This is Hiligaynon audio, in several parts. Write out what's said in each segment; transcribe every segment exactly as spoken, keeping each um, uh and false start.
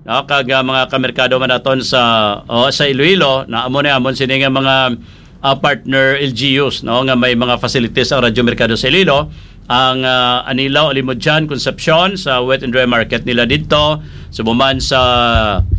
no, kag, ah, mga kamerkado man naton sa, oh, sa Iloilo, na amo ni amon sini nga mga, ah, partner L G Us, no, nga may mga facilities ang Radyo Merkado sa Iloilo, ang, ah, Anilao, Alimodian, Concepcion, sa Wet and Dry Market nila didto, sa buman sa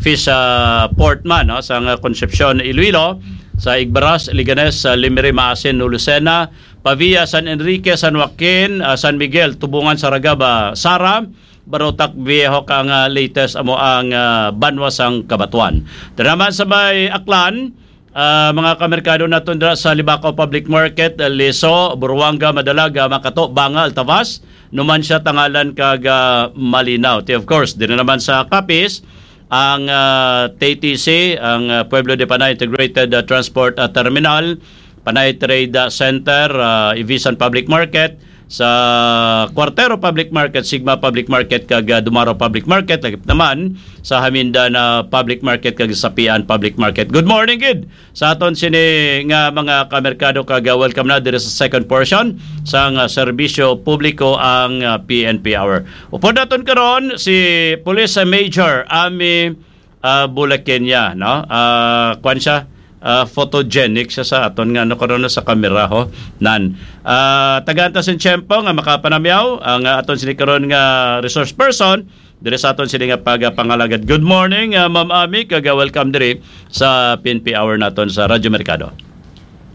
fish, ah, port man, no, sa nga Concepcion, Iloilo, sa Igbaras, Leganes, sa Limiri, Maasin, Lucena, Pavia, San Enrique, San Joaquin, ah, San Miguel, Tubungan, Saragaba, Sara, Barotac Viejo ka nga latest amo ang, ah, banwa sang Cabatuan. Dira naman sa may Aklan, ah, mga kamerkado naton dira sa Libacao Public Market, Leso, Buruanga, Madalaga, Makato, Banga, Altavas, Numancia, Tangalan kag, ah, Malinao. Ti, of course, diri naman sa Capiz, ang, ah, T T C, ang, ah, Pueblo de Panay Integrated, ah, Transport, ah, Terminal, Panay Trade, ah, Center, ah, Ivisan Public Market, sa Cuartero Public Market, Sigma Public Market, kag, ah, Dumaro Public Market, lagip naman sa Hamindan, ah, Public Market, kag Sapian Public Market. Good morning gid sa aton sini nga mga kamerkado, kag, ah, welcome na diri sa second portion sang, ah, serbisyo publiko, ang, ah, P N P Hour. Upod naton karon si Police Major Ami, ah, Bulakenya, no? Ah, kwan siya, ah, photogenic siya sa aton nga, ano, karon sa kamera, ho. Nan. Ah, tagaan ta sing tiyempo nga makapanamyaw ang, ah, aton sini karon nga resource person diri sa aton sini nga pagapangalagad. Good morning, ah, Ma'am Ami, kag, ah, welcome diri sa P N P Hour naton sa Radyo Merkado.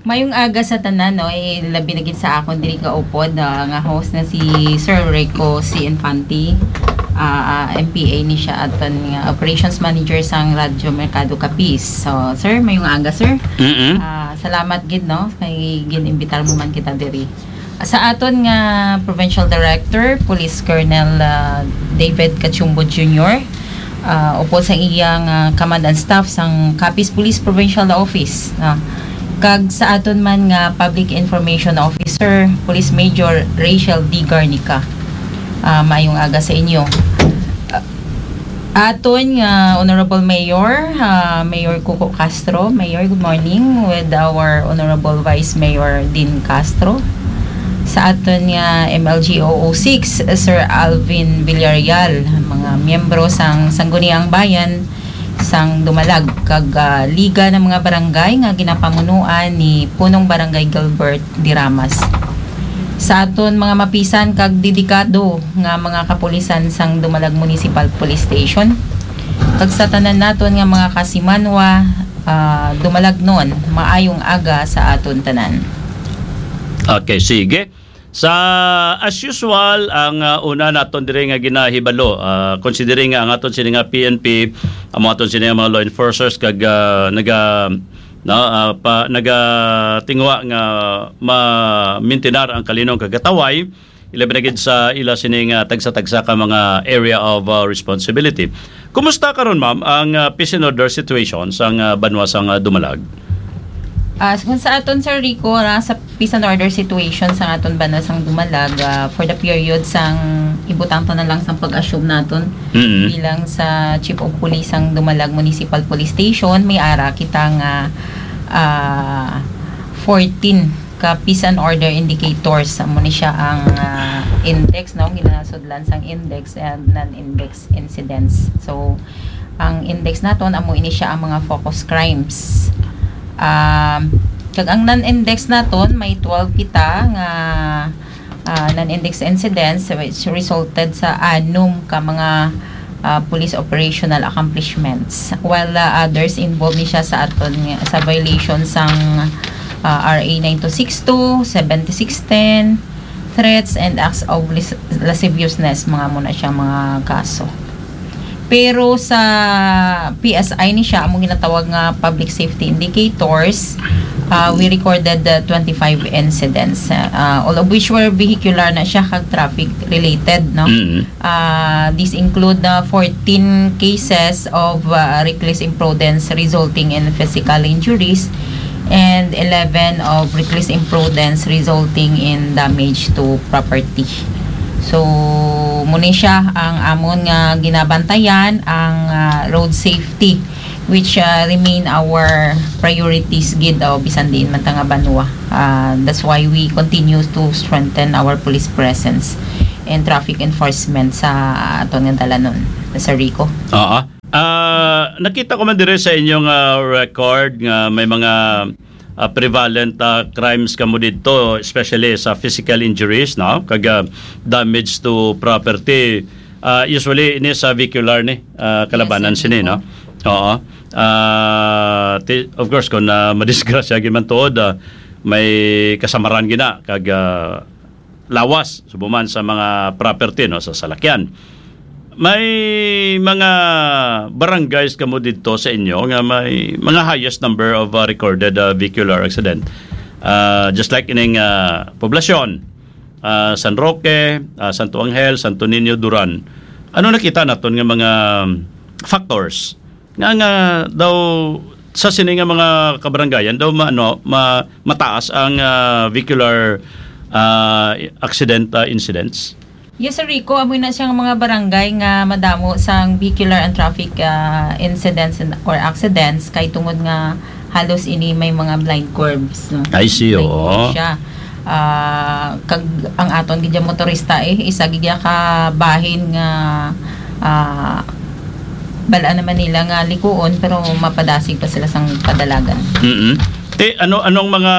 Mayong aga sa tanan, no? Eh, labi na gid sa akon diri nga upod, ah, nga host na si Sir Rico C. Infante. Ah, ah, M P A ni siya, aton nga operations manager sang Radyo Merkado Capiz. So, sir, mayong aga, sir. Mm-mm. Ah, salamat gid, no, kay gin-imbitar mo man kita diri. Sa aton nga Provincial Director, Police Colonel, ah, David Cachumbo Junior, ah, upod sa iyang, ah, command and staff sang Capiz Police Provincial Office, ah, kag sa aton man nga Public Information Officer, Police Major Rachel D. Garnica. Ah, maayong aga sa inyo. Ah, aton nga Honorable Mayor, ah, Mayor Cuco Castro. Mayor, good morning, with our Honorable Vice Mayor Dean Castro. Sa aton nga M L G O O six, Sir Alvin Villarreal, mga miyembro sang Sangguniang Bayan sang Dumalag, kag, ah, Liga ng mga Barangay nga ginapamunuan ni Punong Barangay Gilbert Diramas. Sa aton mga mapisan kag dedikado nga mga kapulisan sang Dumalag Municipal Police Station, kag sa tanan naton nga mga kasimanwa, ah, Dumalagnon, maayong aga sa aton tanan. Okay, sige. Sa, as usual, ang, ah, una naton diri nga ginahibalo, ah, considering nga ang aton sini nga P N P, ang aton sini nga mga law enforcers kag, ah, naga, no, ah, pa, nagatinguha nga ma-maintinar ang kalinong kagataway, ilabi na gid sa ila sini nga tagsa-tagsa ka mga area of, ah, responsibility. Kumusta karon, ma'am, ang, ah, peace and order situation sang, ah, banwa sang, ah, Dumalag? Ah, kung sa aton, Sir Rico, na sa peace and order situation sa aton banwa sang Dumalag, ah, for the period sang ibutang ta na lang sang pag-assume naton Mm-hmm. bilang sa Chief of Police sang Dumalag Municipal Police Station, may ara kita nga, ah, fourteen ka peace and order indicators. Amo ni siya ang, ah, index, no? Ginasudlan sang index and non-index incidents. So, ang index naton, amo ini siya ang mga focus crimes. Um, kag ang non-index naton, may twelve kita nga, ah, non-index incidents, which resulted sa anom ka mga, ah, police operational accomplishments. While, ah, others involved ni siya sa aton nga, sa violation sang, ah, R A nine two six two, seventy-six ten, threats and acts of lis-, lasciviousness, mga amo na siya mga kaso. Pero sa P S I ni siya, among ginatawag nga public safety indicators, ah, we recorded the twenty-five incidents, ah, all of which were vehicular na siya kag traffic related, no? Mm. Ah, these include the fourteen cases of, ah, reckless imprudence resulting in physical injuries and eleven of reckless imprudence resulting in damage to property. So, muna siya ang amon nga ginabantayan, ang, ah, road safety, which, ah, remain our priorities gid, oh, bisan diin man ta nga banwa. Ah, that's why we continue to strengthen our police presence and traffic enforcement sa aton nga dalanon, Sir Rico. Oo. Nakita ko man dire sa inyong, ah, record nga may mga, ah, prevalent, ah, crimes kamo didto, especially sa physical injuries, no? Kag, ah, damage to property. Ah, usually, ini sa vehicular ni, ah, kalabanan Yes, sir. sini, no? Oo. Ah, ti-, of course, kung, ah, madisgrasya gid man tuod, ah, may kasamaran gina kag, ah, lawas, subo man sa mga property, no, sa salakyan. May mga barangays kamo didto sa inyo nga may mga highest number of, uh, recorded, uh, vehicular accident. Uh, just like ining, uh, poblasyon, uh, San Roque, uh, Santo Angel, Santo Niño, Duran. Ano nakita naton nga mga factors nga, nga daw sa sini nga mga kabarangayan daw ma-, ano, ma-, mataas ang, ah, vehicular, ah, accident, ah, incidents? Yes, Sir Rico, amo na siyang mga barangay nga madamo sang vehicular and traffic, ah, incidents and, or accidents kay tungod nga halos ini may mga blind curves, no? I see, Blind oo. curves siya. Ah, kag ang aton gid nga motorista, eh, isa gid ka bahin nga, ah, bal-an naman nila nga likuon, pero mapadasig pa sila sang padalagan. Mm-mm. Te, ano, anong mga,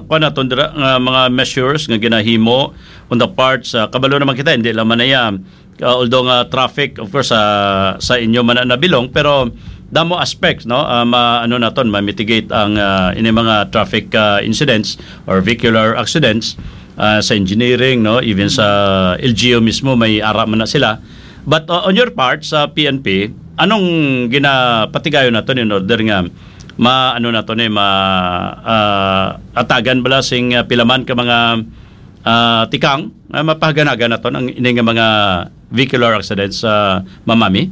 kuwan naton dira, nga mga measures nga ginahimo on the part sa, kabalo naman kita, hindi lang man na yan. Uh, although nga traffic, of course, sa, sa inyo man na nabilong, pero damo aspects, no? Ah, ma-, ano naton, ma-mitigate ang, ah, ini mga traffic, ah, incidents or vehicular accidents, ah, sa engineering, no? Even sa L G U mismo, may ara man na sila. But, uh, on your part, sa P N P, anong ginapatigayon naton in order nga ma-, ano naton, eh, ma-, ah, atagan bala sing, ah, pila man ka mga, ah, tikang nga mapahaganagan naton ang ini nga mga vehicular accidents, ah, Ma'am Mami?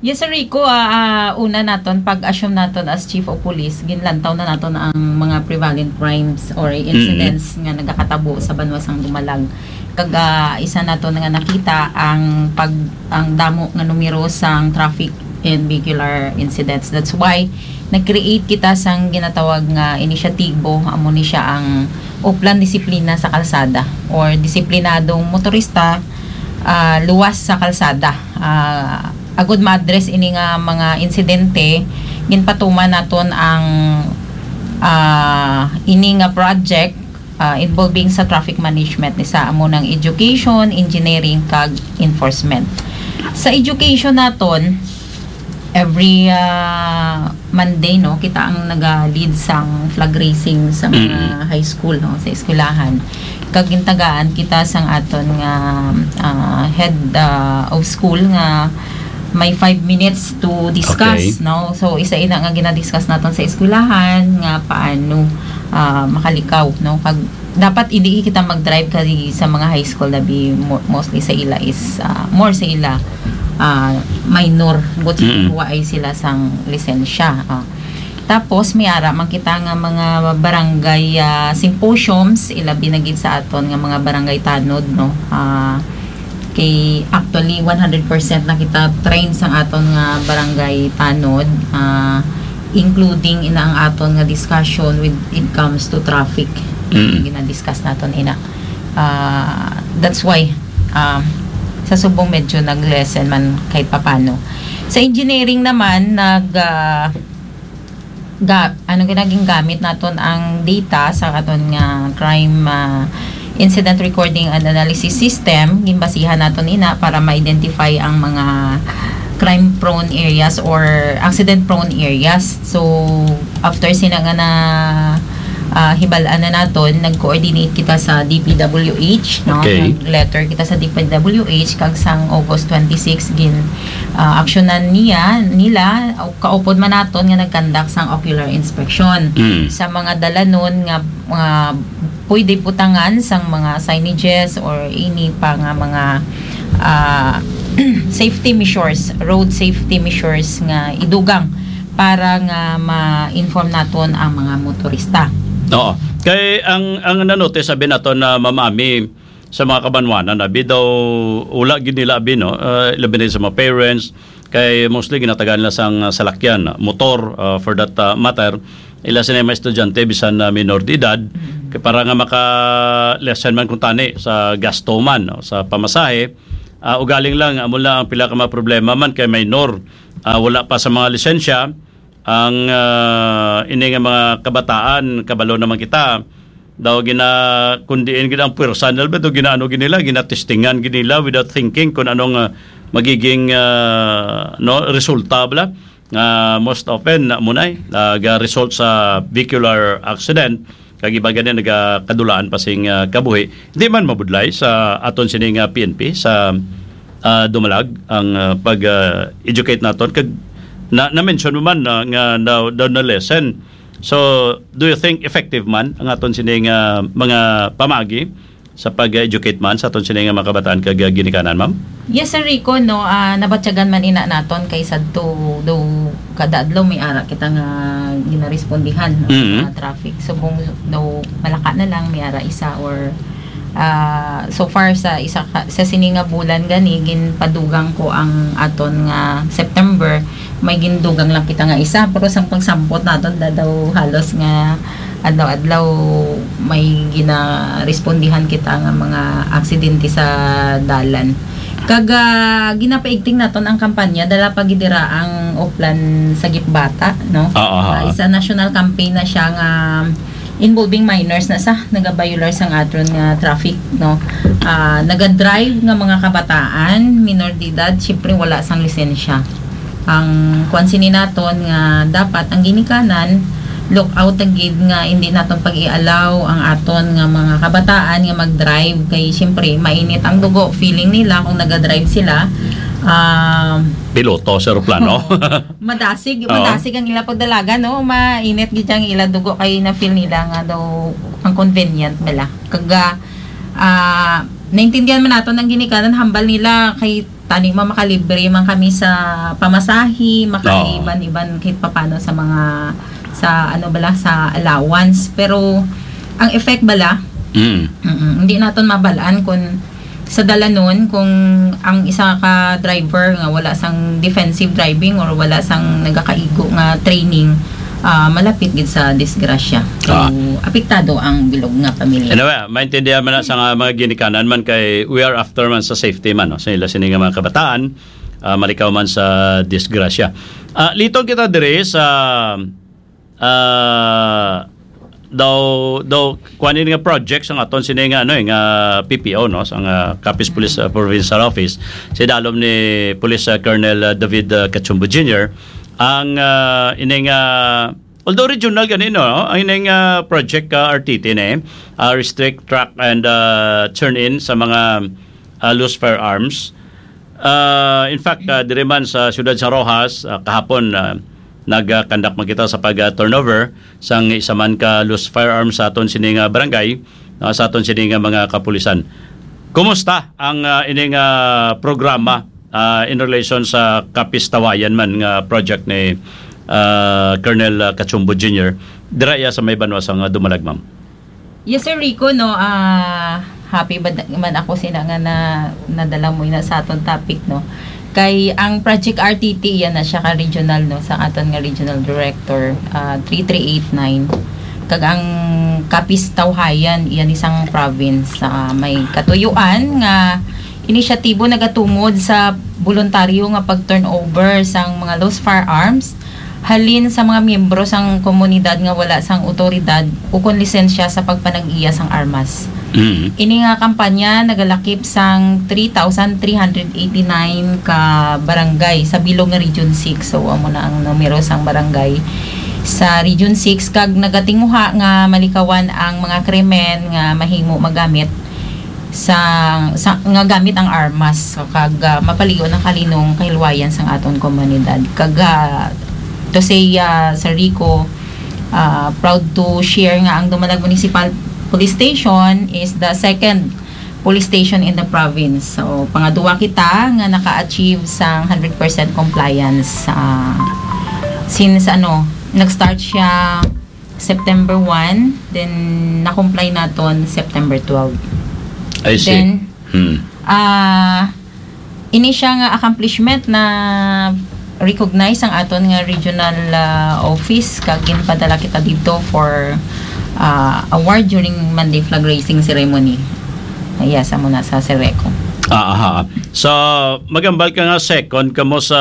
Yes, Sir Rico, ah, ah, una naton, pag-assume naton as Chief of Police, ginlantaw na naton ang mga prevalent crimes or Mm-hmm. incidents nga nagakatabo sa banwa sang Dumalag. Kag, ah, isa naton nga nakita ang pag-, ang damo nga numero sang traffic and vehicular incidents. That's why nag-create kita sang ginatawag nga inisyatibo, amo ni siya ang Oplan Disiplina sa Kalsada or Disiplinadong Motorista, ah, Luwas sa Kalsada. Ah, agud ma-address ini nga mga insidente, ginpatuman naton ang, ah, ini nga project, ah, involving sa traffic management, ni sa amo nang education, engineering, kag enforcement. Sa education naton, every, ah, Monday, no, kita ang naga-lead sang flag raising sa mga Mm. high school, no, sa eskwelahan. Kag gintagaan kita sang aton nga, ah, head, ah, of school nga may five minutes to discuss, Okay. no? So, isa ina nga ginadiscuss naton sa eskwelahan nga paano, ah, makalikaw, no? Kag dapat hindi kita mag-drive kay sa mga high school, labi mo-, mostly sa ila is, ah, more sa ila, ah, minor, but Mm. kuha ay sila sang lisensya. Ah. Tapos, may ara man kita nga mga barangay, ah, symposiums, ilabi na gid sa aton nga mga barangay tanod, no? Ah, kay actually, one hundred percent na kita trained sang aton nga barangay tanod, ah, including ina ang aton nga discussion with it comes to traffic. Mm. Gina-discuss naton ina. Ah, that's why, um, sa subong medyo nag-lessen man kahit papano. Sa engineering naman, nag, ah, ga-, ano, ginaging gamit naton ang data sa aton nga crime, ah, incident recording and analysis system. Ginbasihan naton ina para ma-identify ang mga crime-prone areas or accident-prone areas. So, after sina nga na, ah, hibal-an na naton, nag-coordinate kita sa D P W H, no? Okay. Nag-letter kita sa D P W H, kag sang August twenty-six, gin, ah, aksyonan niya, nila, o kaupod man naton nga nag-conduct sang ocular inspection Mm. sa mga dalanon nga, nga pwede butangan sang mga signages or ini pa nga mga, ah, safety measures, road safety measures nga idugang para nga ma-inform naton ang mga motorista. Oo. Kay ang, ang nanote, sabi nato na, Ma'am Ami, sa mga kabanwanan, abi daw, wala gid nila, abi, no? Ah, labi na sa mga parents, kay mostly ginatagaan nila sang, ah, salakyan, motor, ah, for that, ah, matter. Ila sila mga estudyante, bisan na minor de edad, Mm. kay para nga maka-lessen man kung tani sa gasto man, no? Sa pamasahe, Ah, ugaling lang, amo lang ang pila ka mga problema man kay minor. Ah, wala pa sa mga lisensya ang, ah, ini nga mga kabataan, kabalo naman kita. Daw gina, kung diin gid ang puwersa nila, daw ginaano gid nila, ginatestingan gid nila without thinking kung anong, ah, magiging, ah, no, resulta bala. Nga most often na munay nag-result sa vehicular accident, kag iban gani nagakadulaan pa sing, ah, kabuhi. Hindi man mabudlay sa aton sini nga P N P sa, ah, Dumalag ang, ah, pag, ah, educate naton kag na, na-mention mo man na, nga daw, daw na lesson. So, do you think effective man ang aton sini nga mga pamagi sa pag-educate man sa aton sini nga mga kabataan kag, ah, ginikanan, ma'am? Yes, Sir Rico, no, ah, nabatyagan man ina naton kay sadto daw kada adlaw may ara kita nga ginarespondihan, no, Mhm. sa traffic. Subong daw malaka na lang may ara isa or, ah, so far sa isa ka, sa sini nga bulan gani ginpadugang ko ang aton nga September, may gindugang lang kita nga isa, pero sang pagsampot naton da daw halos nga adlaw-adlaw may ginarespondihan kita nga mga aksidente sa dalan. Kag, ah, ginapaigting naton ang kampanya, dala pa gid dira ang Oplan Sagip Bata, no? Oo, ha. Ah, isa national campaign na siya nga involving minors na sa nagabiolar sang aton nga traffic, no? Ah, nagadrive nga mga kabataan, minor de edad, siyempre wala sang lisensya. Ang kuwan sini naton nga dapat ang ginikanan, look out gid nga hindi naton pag-ialaw ang aton nga mga kabataan nga mag-drive kay siyempre mainit ang dugo, feeling nila kung naga-drive sila, ah, Piloto sa eroplano. Oo. Madasig, Oo. madasig ang ila pagdalagan, no? Mainit gid ang ila dugo kay na-feel nila nga daw ang convenient bala. Kag, ah, naintindihan man naton ang ginikanan, hambal nila kay tani ma-, makalibre man kami sa pamasahe, Oo. makaiban-iban kahit papano sa mga, sa ano bala, sa allowance. Pero ang effect bala, Mm. mm, hindi naton mabalaan kung sa dalanon kung ang isa ka driver nga wala sang defensive driving or wala sang nagakaigo nga training, ah, malapit gid sa disgrasya. So, Ah. apektado ang bilog nga pamilya. Anyway, maintindihan man na sa nga mga ginikanan man kay we are after man sa safety man, no? Sa ila sini nga mga kabataan, ah, malikaw man sa disgrasya. Ah, liton kita diri sa, ah, daw, daw, kuan ini nga project sa aton sini nga, ano, eh, nga P P O, no? Sa nga Capiz Police, ah, Provincial Office, sa idalom ni Police, ah, Colonel, ah, David, ah, Cachumbo Junior, ang, ah, ini nga, although regional gani, no? Ang ini nga project, ah, R T T ni, ah, Restrict, Track, and, ah, Turn In sa mga, ah, loose firearms. Ah, in fact, ah, diri man sa siyudad sa Roxas, ah, kahapon, ah, nag-conduct man kita sa pag, ah, turnover sang isa man ka loose firearms sa aton sini nga barangay, ah, sa aton sini nga mga kapulisan. Kumusta ang, ah, ini nga programa, ah, in relation sa Capiz Tawayan man nga project ni, ah, Colonel, ah, Cachumbo Junior? Dira iya sa may banwa sa nga Dumalag, ma'am. Yes, Sir Rico, no, ah, happy ba da-, man ako sina nga na, nadala mo na sa aton topic, no. Kay ang Project R T T, iya na siya ka regional, no, sa aton nga regional director, ah, three three eight nine. Kag ang Capiz Tawhayan, iya ni sang province, ah, may katuyuan nga inisyatibo nagatungod sa boluntaryo nga pag-turnover sang mga loose firearms halin sa mga miyembro sang komunidad nga wala sang awtoridad ukon lisensya sa pagpanag-iya sang armas. Mm. Ini nga kampanya nagalakip sang three thousand three hundred eighty-nine ka barangay sa bilog nga Region six. So, amo na ang numero sang barangay sa Region six, kag nagatinguha nga malikawan ang mga krimen nga mahimo magamit sa, sa, nga gamit ang armas, kag, ah, mapaligon ang kalinong kahilwayan sang aton komunidad. Kag, ah, to say, ah, Sir Rico, ah, proud to share nga ang Dumalag Municipal Police Station is the second police station in the province. So, pangadua kita nga naka-achieve sang hundred percent compliance, ah, since, ano, nag-start siya September one, then na-comply naton September twelve. I see. Then, Hmm. ah, ini siya nga accomplishment na recognize ang aton nga regional, ah, office, kag ginpadala kita dito for, ah, award during Monday flag raising ceremony. Yes, amo na sa Sereco. Ah, aha. So, magambal ka nga second kamo sa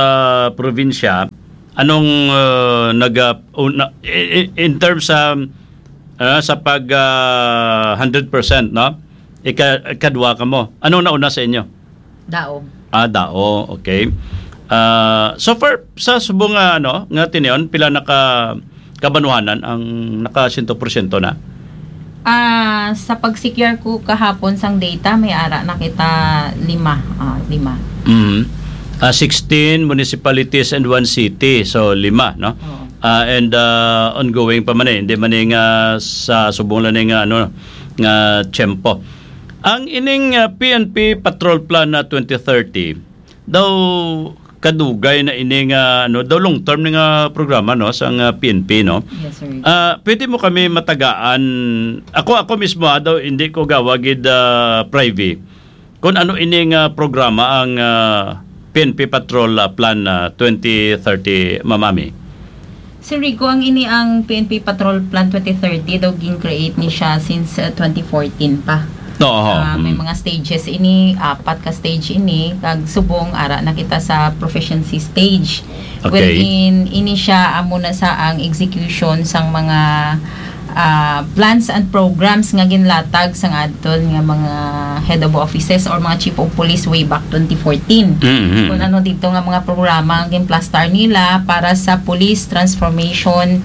probinsya. Anong, uh, naga-, una, i-, i-, in terms sa, ah, sa pag, ah, hundred percent, no? Ika-, ikadwa kamo. Anong nauna sa inyo? Dao. Ah, Dao. Okay. Ah, so far, sa subong nga, ano, nga tinion, pila na ka kabanwahanan ang naka siyento porsyento na? Ah, sa pag-secure ko kahapon sang data, may ara na kita lima. Ah, lima. Mhm. Ah, sixteen municipalities and one city. So, lima, no? Oo. Ah, and, ah, ongoing pa man eh. Hindi man eh nga sa subong lang eh nga, ano, nga tiyempo. Ang ining, ah, P N P Patrol Plan na twenty thirty, daw kadugay na ini nga, ano, daw long term ni nga programa, no, sang, ah, P N P, no? Yes, sir. Ah, pwede mo kami matagaan, ako, ako mismo, ah, daw hindi ko gawa gid, ah, privy, kung ano ini nga programa ang, ah, P N P Patrol, ah, Plan, ah, twenty thirty, Ma'am Ami. Sir Rico, ang ini ang P N P Patrol Plan twenty thirty daw gin-create ni siya since, uh, twenty fourteen pa. Oo. Ah, may Mm. mga stages ini, apat ka stage ini, kag subong ara na kita sa proficiency stage. Okay. Wherein ini siya amo na sa ang execution sang mga, ah, plans and programs nga ginlatag sang aton nga mga head of offices or mga chief of police way back twenty fourteen. Mm-hmm. Kung ano dito nga mga programa ang ginplastar nila para sa police transformation,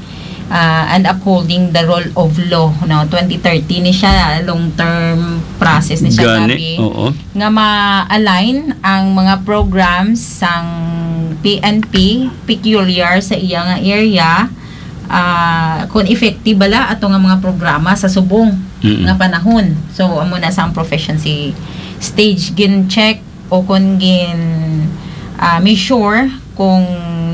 ah, and upholding the rule of law, no? Twenty thirty ni siya, long-term process ni siya, Gani, grabe, oo. Nga ma-align ang mga programs sang P N P peculiar sa iya nga area, ah, kung effective bala ato nga mga programa sa subong Mm-mm. nga panahon. So, amo na sa ang proficiency stage, gin-check o kung gin, ah, measure kung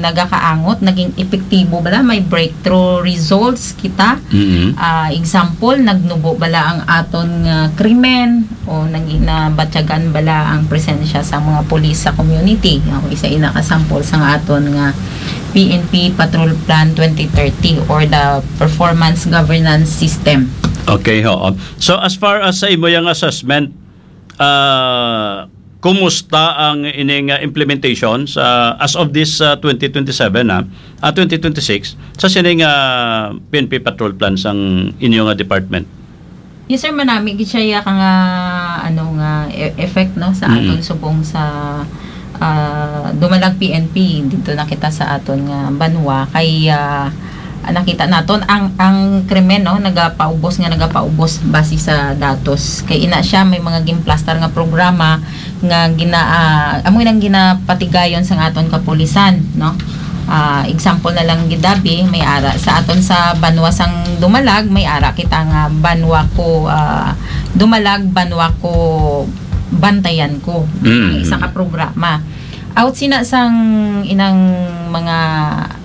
nagakaangot, naging epektibo bala, may breakthrough results kita. Mm-hmm. Ah, example, nagnubo bala ang aton nga krimen o nag-, nabatyagan bala ang presensya sa mga pulis sa community. Ako, isa ina ka sample sa nga aton nga P N P Patrol Plan twenty thirty or the Performance Governance System. Okay, oo. So, as far as sa imo yang assessment, ah, kumusta ang ining, ah, implementation sa, as of this, ah, twenty twenty-seven, ah, ah, twenty twenty-six, sa sining, ah, P N P Patrol Plan sang inyo nga department? Yes, sir, manami gid siya ya ka nga, ano, nga e-, effect, no, sa Mm. aton subong sa, ah, Dumalag P N P. Dito na kita sa aton nga banwa kay, ah, nakita naton ang, ang krimen, no, nagapaubos nga nagapaubos base sa datos. Kay ina siya may mga ginplastar nga programa nga gina-, ah, amo nang ginapatigayon sang aton kapulisan, no? Ah, example na lang gid, Dabi, may ara sa aton sa banwa sang Dumalag, may ara kita nga banwa ko, ah, Dumalag, banwa ko, bantayan ko. Mm. Isa ka programa. Out sina sang inang mga,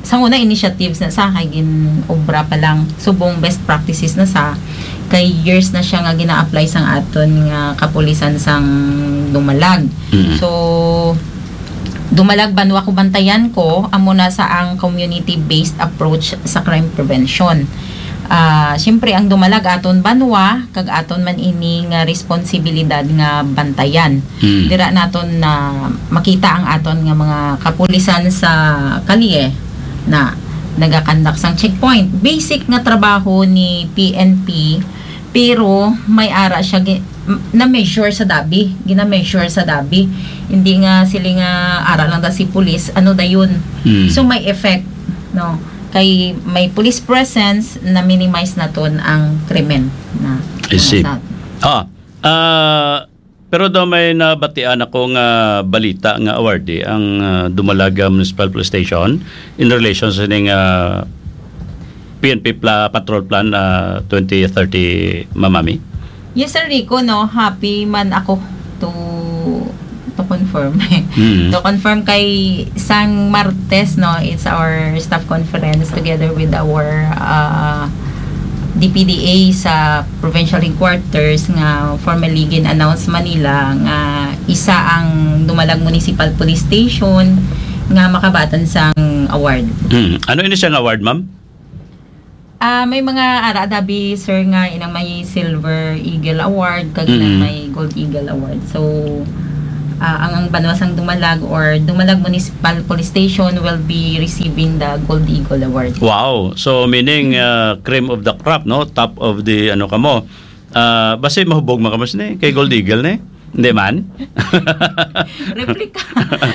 sang una initiatives na sa kay gin-obra pa lang, subong best practices na sa kay years na siya nga gina-apply sang aton nga kapulisan sang Dumalag. Mm. So, Dumalag, banwa ko, bantayan ko, amo na sa ang community-based approach sa crime prevention. Ah, siyempre, ang Dumalag aton banwa, kag aton man ini nga responsibilidad nga bantayan. Mm. Dira naton na makita ang aton nga mga kapulisan sa kalye na nagakandak sang checkpoint. Basic nga trabaho ni P N P, pero may ara siya gi-, m-, na-measure sa Dabi, gina-measure sa Dabi. Hindi nga sila nga ara lang da si pulis, ano dayon. Mm. So, may effect, no? Kay may police presence, na-minimize naton ang krimen na I see. Sa Ah, ah, pero daw may nabatian ako nga balita nga awardee ang, ah, Dumalaga Municipal Police Station in relation sa ning, ah, P N P pla-, Patrol Plan, ah, twenty thirty, Ma'am Ami. Yes, Sir Rico, no, happy man ako to, to confirm. Mm. To confirm kay sang Martes, no, it's our staff conference together with our, ah, D P D A sa provincial headquarters nga formally gin-announce Manila nga isa ang Dumalag Municipal Police Station nga makabatan sang award. Mm. Ano ini siyang award, ma'am? Ah, may mga ara dabi, sir, nga inang may Silver Eagle Award kag inang Mm. may Gold Eagle Award. So, Ah, ang, ang banwa sang Dumalag or Dumalag Municipal Police Station will be receiving the Gold Eagle Award. Wow. So, meaning, uh, cream of the crop, no? Top of the, ano, kamo. Ah, basi mahubog man kamo sini kay Gold Eagle ni? Hindi man? Replika.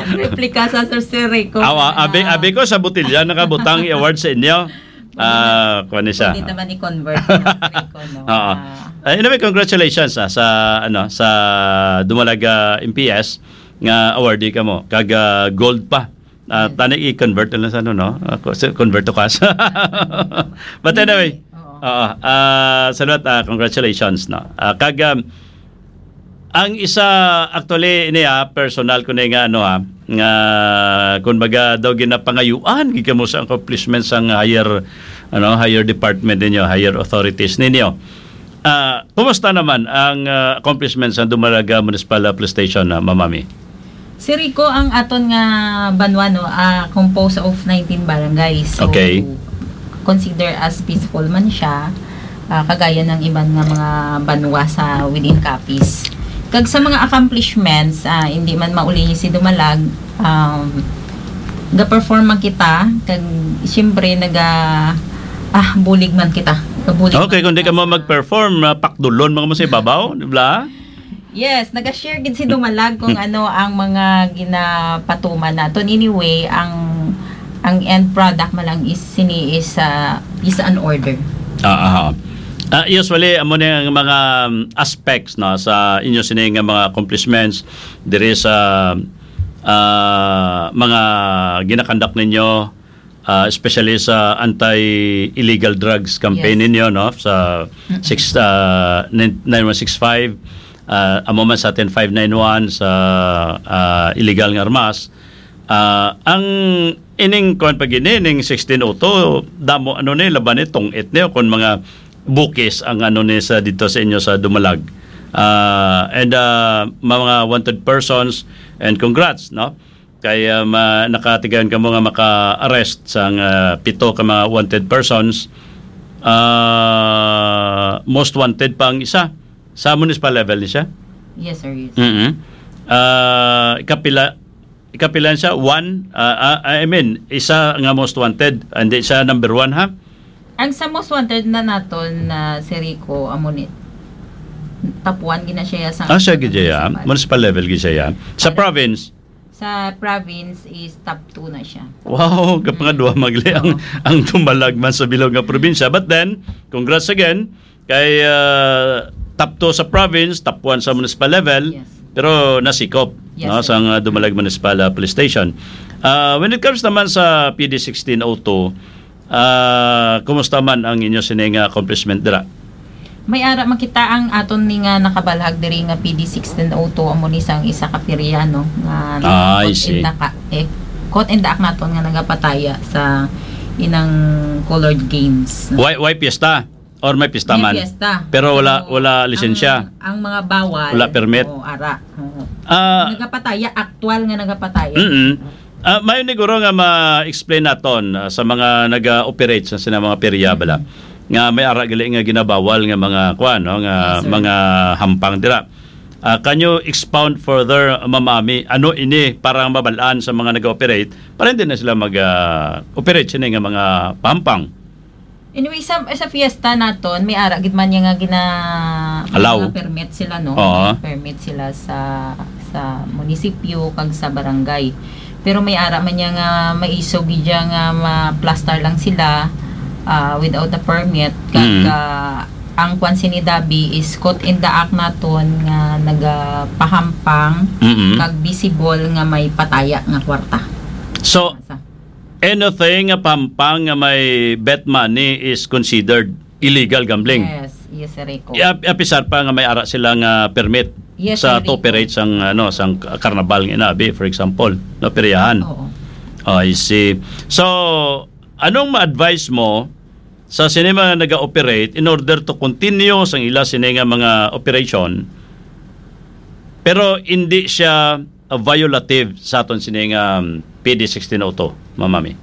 Replika sa Sir Rico. Awa, abi, Ah, abi ko sa botelya nakabutang i-award sa inyo. Ah, kuwan ni siya. Pwede naman i-convert sa Sir Rico, no? Oo. Ah. Eh, anyway, congratulations, ah, sa, ano, sa Dumalaga M P S nga awardee kamo. Kag, ah, gold pa. Ah, Yes. Tani i-convert na lang sa, ano, no? Ako, sa convert to cash. But anyway, Hindi. Oo. Oo. Ah, salamat, ah, congratulations, no? Ah, kag, um, ang isa, actually, ini, ah, personal ko na nga, ano, ah, nga, kung baga daw ginapangayuan, gid kamo sa accomplishments sang higher, ano, higher department ninyo, higher authorities ninyo. Ah, kumusta naman ang, ah, accomplishments sa Dumalaga Municipal Police Station, ah, Ma'am Mami? Si Rico, ang aton nga banwa, no, ah, composed of nineteen barangays. So, Okay. consider as peaceful man siya, ah, kagaya ng iban nga mga banwa sa within Capiz. Kag sa mga accomplishments, ah, hindi man mauli si Dumalag, um, ga-perform man kita, kag siyempre naga, ah, bulig man kita. Gabulig Okay, man kung di kita ka mo sa mag-perform, ah, pakdulon man mo sa ibabaw, di ba? Yes, naga-share gid si Dumalag kung ano ang mga ginapatuman naton. Anyway, ang, ang end product man lang is sini is, ah, peace and order. Ah, aha. Ah, usually, amo ni ang mga, um, aspects, no, sa inyo sini nga mga accomplishments diri sa, ah, mga ginakandak ninyo, ah, especially sa anti-illegal drugs campaign Yes. ninyo, no, sa Mm-mm. six, ah, nine, nine one six five, ah, amo man sa atin five nine one sa, ah, illegal nga armas. Ah, ang ining kuwan pa gini, ning sixteen oh two, damo ano ni, laban ni, tong-it ni, o kung mga bukis ang ano ni sa dito sa inyo sa Dumalag. Ah, and, ah, mga wanted persons, and congrats, no? Kay, ah, ma-, nakatigayon kamo nga maka-arrest sang, ah, pito ka mga wanted persons. Ah, most wanted pa ang isa. Sa municipal level ni siya? Yes, sir. Yes. Mm-mm. Ah, ikapila, ikapila siya? One? Ah, ah, I mean, isa nga most wanted. Hindi siya number one, ha? Ang sa most wanted na naton na si Rico, amo ni, top one gina siya sa Ah, siya gid siya, ya. Municipal. Municipal level gid siya, ya. Sa Ano? province? Sa province is top two na siya. Wow, Mm. kapangadwa magli ang, Oo. ang Dumalag man sa bilog nga probinsya. But then, congrats again kay, ah, top two sa province, top one sa municipal level, Yes. pero nasikop, Yes, no, sir. sang, ah, Dumalag Municipal, ah, Police Station. Ah, when it comes naman sa P D sixteen oh two, ah, kumusta man ang inyo sining, ah, accomplishment dira? May ara makita ang aton ni nga nakabalhag diri nga P D sixteen oh two, amo ni sang isa ka perya, no, nga Ah, I caught in see. the ka-, eh, caught in the act naton nga nagapataya sa inang colored games, no? Why, why piyesta? Or may pista May man? piyesta. Pero wala, Pero wala lisensya? ang, ang mga bawal, Wala permit? oo, ara. Oo. Ah. Nagapataya, aktual nga nagapataya. Mm-mm. Ah, may niguro nga ma-explain naton, ah, sa mga nag-operate sa sina mga perya bala, Mm. nga may ara gali nga ginabawal nga mga kuan, no, nga Yes, sir. mga hampang dira. Ah, can you expound further, Ma'am Ami, ano ini para mabal-an sa mga nag-operate para hindi na sila mag, ah, operate sini nga mga pahampang? Anyway, sa, sa fiesta naton, may ara gid man niya nga gina-, Allow. mga permit sila, no? Oo. May permit sila sa, sa munisipyo kag sa barangay. Pero may ara man niya nga maisog gid siya nga ma-plaster lang sila, ah, without a permit. Kag, Mm. ah, ang kwan sini Dabi is caught in the act naton nga nagapahampang Mm-mm. kag visible nga may pataya nga kwarta. So, Sa anything nga pahampang nga may bet money is considered illegal gambling. Yes, yes, Sir Rico. I-, ap-, apisar pa nga may ara sila nga permit Yes, sa Sir Rico. to operate sang, ano, sang k-, karnabal nga inabi, for example, no, peryahan. Oo. Oh, I see. So, anong ma-advise mo sa sini mga naga-operate in order to continue sang ila sini nga mga operation, pero hindi siya, uh, violative sa aton sini nga, um, P D sixteen oh two, Ma'am Mami?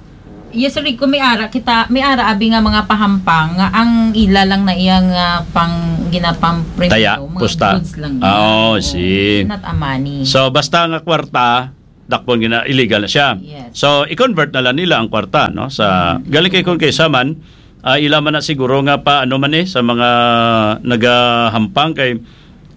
Yes, Sir Rico, may ara kita, may ara abi nga mga pahampang nga ang ila lang na iya nga pang ginapampremyo, Taya, mga pusta. goods lang Ah, oh, Oo, see. not a money. So, basta nga kwarta, dakpon gina, illegal na siya. Yes. So, i-convert na lang nila ang kwarta, no? Sa, Mm. galing kay kung kaysa man, ah, ila man na siguro nga pa, ano man eh, sa mga nagahampang kay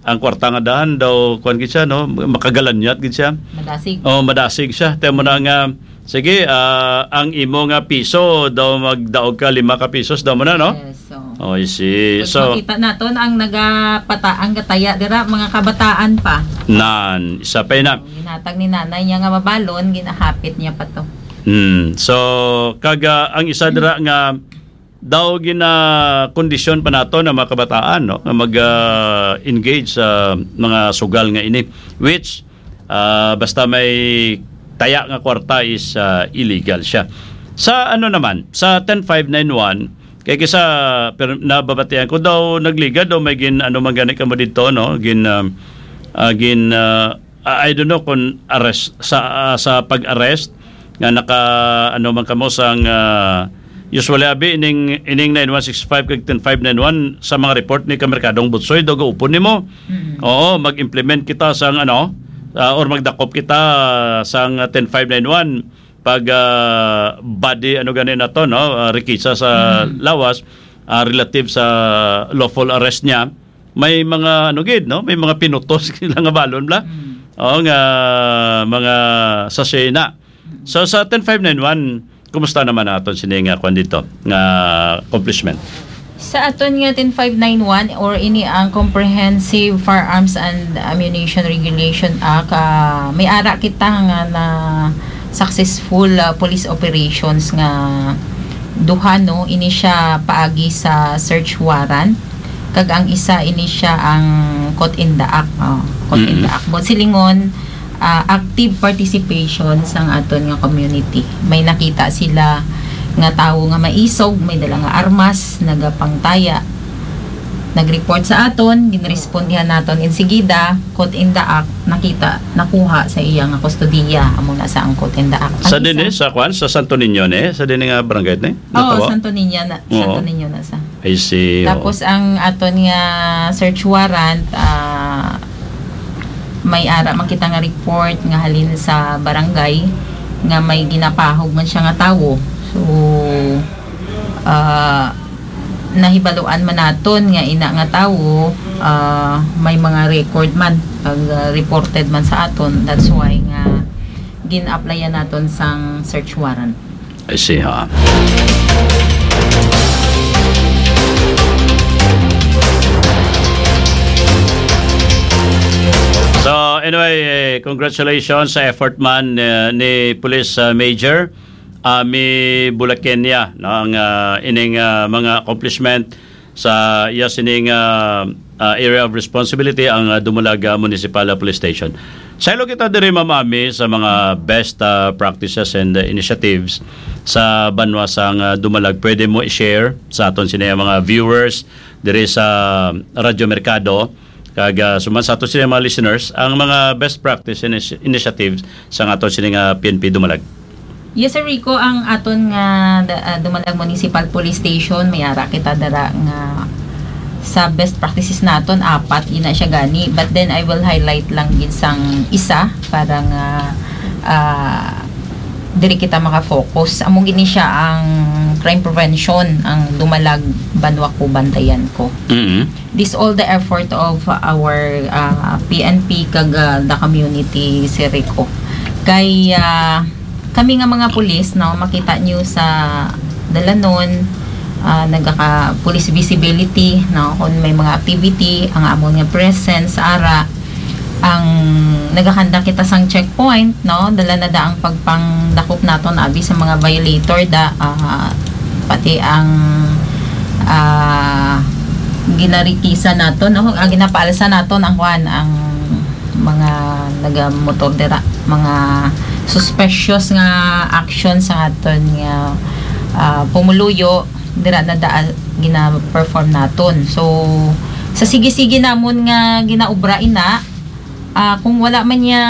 ang kwarta nga dahan daw, kuwan gid siya, no? Makagalanyat gid siya. Madasig. Oh, madasig siya. Temo na nga, sige, ah, ang imo nga piso daw magdaog ka lima ka pisos daw mo na, no? Yes, so. Oh, I see. Pag So, makita naton ang nagapata-, ang gataya dira, mga kabataan pa. Nan, isa pa yun na. Ginhatag ni nanay niya nga mabalon, ginahapit niya pa to. Hmm. So, kaga ang isa dira nga daw gina-kondisyon pa nato na mga kabataan, no, nga mag, ah, engage sa mga sugal nga ini, which, ah, basta may taya nga kwarta is, ah, illegal siya. Sa ano naman, sa ten five nine one, kay kisa, pero nababatian ko daw nagligad daw may gin, ano man gani kamo dito, no? Gin, ah, ah, gin, ah, I I don't know kung arrest, sa, ah, sa pag-arrest nga naka, ano man kamo sang, ah, usually abi ining, ining nine one six five kag ten five nine one sa mga report ni Kamerkadong Butsoy, daw gaupon nimo. Mm. Oo, mag-implement kita sang ano, ah, or magdakop kita sang ten five nine one pag, ah, body, ano gani na to, no? Ah, rikisa sa Mm. lawas, ah, relative sa lawful arrest niya. May mga, ano gid, no? May mga pinutos sila nga balon, bla? Mm. Oo, nga mga sachet na. Mm. So, sa ten five nine one, kumusta naman aton sini nga kwan dito, nga accomplishment? Sa aton nga ten five nine one or ini ang Comprehensive Firearms and Ammunition Regulation Act, ah, may ara kita nga na successful, ah, police operations nga duha, no? Ini siya paagi sa search warrant, kag ang isa ini siya ang caught in the act. Oh, caught in the Mm-mm. act. But silingon, ah, active participation sang aton nga community. May nakita sila nga tawo nga maisog, may dala nga armas, nagapangtaya. Nag-report sa aton, ginrespondihan naton insigida, caught in the act, nakita, nakuha sa iya nga kustodiya. Amo na sa ang caught in the act. Ang Sa isa din eh, sa kwan, sa Santo Niño ni, sa din nga barangay ni? Oo, Natawa? Santo Niño na, Oo. Santo Niño na sa. I see, oo. Tapos ang aton nga search warrant, ah, may ara man kita nga report nga halin sa barangay nga may ginapahog man siya nga tawo. So, ah, nahibaluan man naton nga ina nga tawo, ah, may mga record man, pag, ah, reported man sa aton. That's why nga gin-applyan naton sang search warrant. I see, ha. So, anyway, eh, congratulations sa effort man, eh, ni Police, ah, Major Ami Bulakenya, no, ang, ah, ining, ah, mga accomplishment sa iya sining, ah, ah, area of responsibility ang, ah, Dumalag, ah, Municipal, ah, Police Station. Saylo kita diri, Ma'am Ami, sa mga best, ah, practices and, ah, initiatives sa banwa sang, ah, Dumalag. Pwede mo i-share sa aton sini mga viewers diri sa Radyo Merkado kag, ah, suman sa aton sini mga listeners ang mga best practice initi-, initiatives sa aton sini nga P N P Dumalag. Yes, Sir Rico, ang aton nga da-, ah, Dumalag Municipal Police Station, may ara kita dara nga sa best practices naton, apat ina siya gani. But then I will highlight lang gid sang isa para nga, ah, diri kita maka-focus. Amo gini siya ang crime prevention, ang Dumalag Banwa Ko Bantayan Ko. Mm-hmm. This all the effort of our, ah, P N P kag, ah, the community, Sir Rico. Kay, ah, kami nga mga pulis, no, makita nyo sa dalanon, ah, nagaka-police visibility, no, kung may mga activity, ang amon nga presence, ara, ang nagakanda kita sang checkpoint, no, dala na da ang pagpangdakop naton abi sa mga violator da, ah, pati ang, ah, ginarikisa naton, no, ang ginapaalsa naton ang kuan, ang mga nagamotor dira, mga suspicious nga action sa aton nga, ah, pumuluyo dira na da gina-perform naton. So, sa sige-sige namon nga ginaobra ina, ah, kung wala man niya